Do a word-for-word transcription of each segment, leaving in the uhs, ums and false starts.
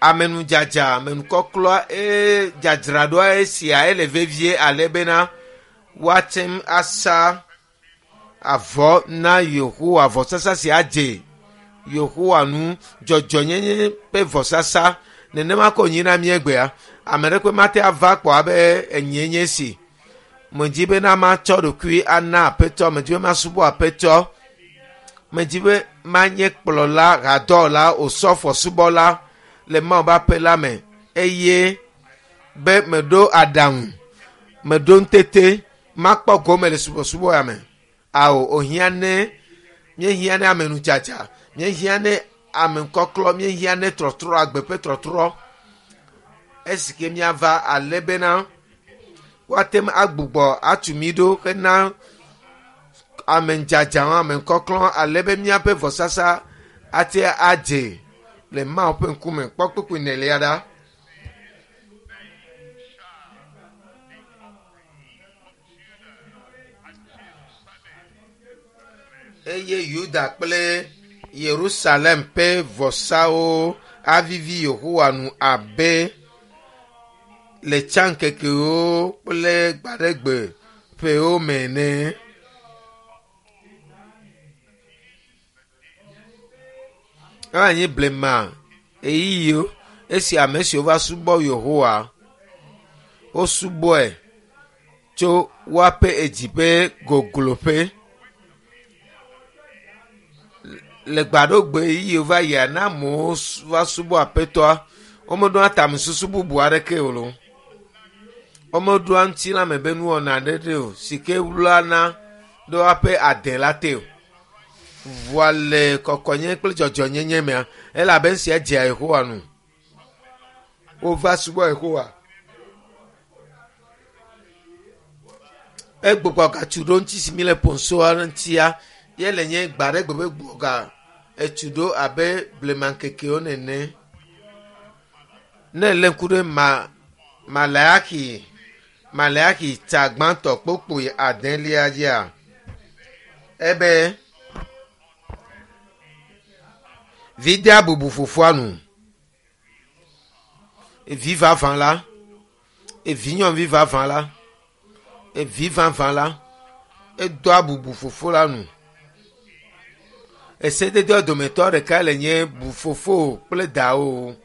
Amenudzadza, amenukɔklɔ eye dzadzraɖoa esia ele vevie ale bena woate ŋu asa avɔ na Yehowa. Vɔsasa sia dze Yehowa nu dzɔdzɔnyenye ƒe vɔsasa. Nenema ko nyi na míegbea. Ame ɖe kpe mate ava kpɔ abe enyie nye si. Medzi bena matsɔ ɖokui ana aƒetɔ, medzi be masubɔ aƒetɔ. Medzi be manye kplɔla, hadɔwɔla, osɔfo subɔla le Mawu ƒe aƒe la me eye be meɖo aɖaŋu, meɖo ŋutete, makpɔ gome le subɔsubɔ ya me. Ao, wòhiã ne míehiã ne amenudzadza, míehiã ne amekɔklɔ, míehiã ne trɔtrɔ, agbe ƒe trɔtrɔ. Esi ke míava ale bena woate ŋu agbugbɔ atu mí ɖo hena amedzadza, amekɔklɔ ale be míaƒe vɔsasa ate adze le Mawu ƒe ŋkume. Kpɔ kpukpui nelia ɖa. Eye Yuda kple Yerusalem ƒe vɔsawo avivi Yehowa nu abe le tsã ŋkekewo kple gbaɖegbe ƒewo me ene. Eva nye blema ɣeyiɣiwo esi ame siwo va subɔ Yehowa wosubɔe tso woaƒe edzi ƒe gogloƒe. Le gbaɖogbe ɣeyiɣiwo va yia ne amewo va subɔ aƒetɔa, womeɖoa tamesusu bubu aɖeke o lo. Womeɖoa ŋutilãme be nuwɔna aɖe o si ke wlana ɖe woaƒe ade la te o. Vɔa le kɔkɔnyenye kple dzɔdzɔnyenye mea, elabe esia dzea Yehowa nu. Wova subɔ Yehowa. Egbugbɔ gatu ɖo ŋuti si mi le ƒonsoa ŋutia, ye le nye gbaɖegbe be gbugbɔ ga etu ɖo abe blema ŋkekewo nene. Ne lé ŋku ɖe ma Maleaxi Maleaxi ta gbãtɔ kpokpoe adelia dzia, ebe vi dea bubu fofoa nu. Evi vavã la, evi nyɔnuvi vavã la, evi vavã la, edoa bubu fofo la nu. Esededewo dometɔ ɖeka le nye bu fofo kple dawo.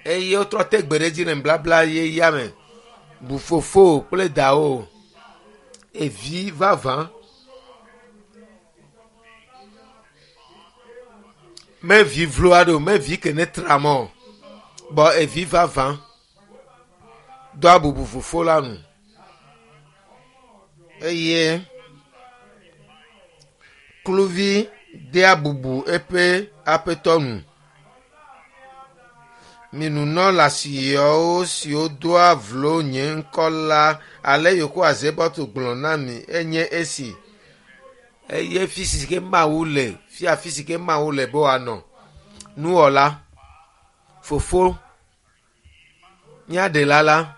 Eye wotrɔ te gbe ɖe edzi le nubabla yeyea me. Bu fofo kple dawo. Evi vavã. Me vi vlo aɖe o, me vi ke ne tra mɔ o. Bɔ evi vavã doa bubu fofo la nu. Eye kluvi dea bubu eƒe aƒetɔ nu. Mi nunɔla siawo siwo doa vlo nye ŋkɔ la, ale Yehowa Zebaot gblɔ na mi enye esi. Eye fi si ke Mawu le, fia afi si ke Mawu le be wòanɔ. Nuwɔla, fofo, míaɖela la,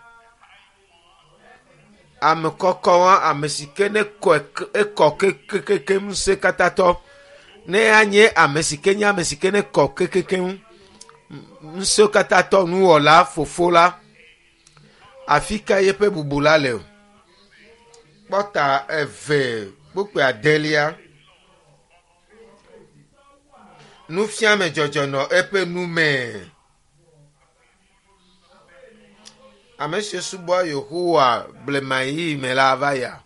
ame kɔkɔ ame si ke ne kɔ ekɔ kekekekem ŋusẽkatãtɔ. Ne anye ame si ke nye ame si ke ne kɔ kekekem ŋusẽkatãtɔ nuwɔla fofo la, afi ka yeƒe bubu la le o? Kpɔta eve kpukpui adelia. Nufiame dzɔdzɔ nɔ eƒe nu me. Ame siwo subɔa Yehowa blema ɣeyiɣi me la va ya.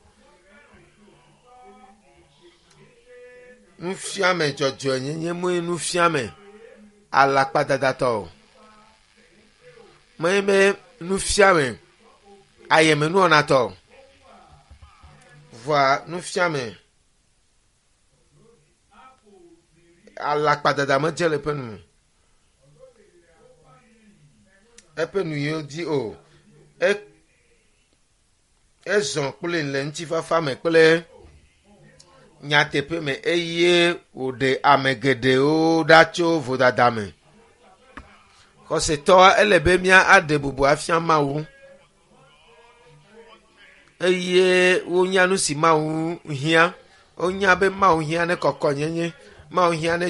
Nufiame dzɔdzɔenyenye mue nufiame alakpadadatɔ o. Menye be nufiame ayemenuwɔnatɔ o. Vɔa nufiame alakpadada medze le eƒe nu me. Eƒe nu yiwo di o. E ezɔ kpli le ŋutifafa me kple nyateƒe me eye wòɖe ame geɖewo ɖa tso vodada me. Xɔsetɔ ele be mía aɖe bubu afia Mawu eye wonya nu si Mawu hiã. Wonya be Mawu hiã ne kɔkɔnyenye, Mawu hiã ne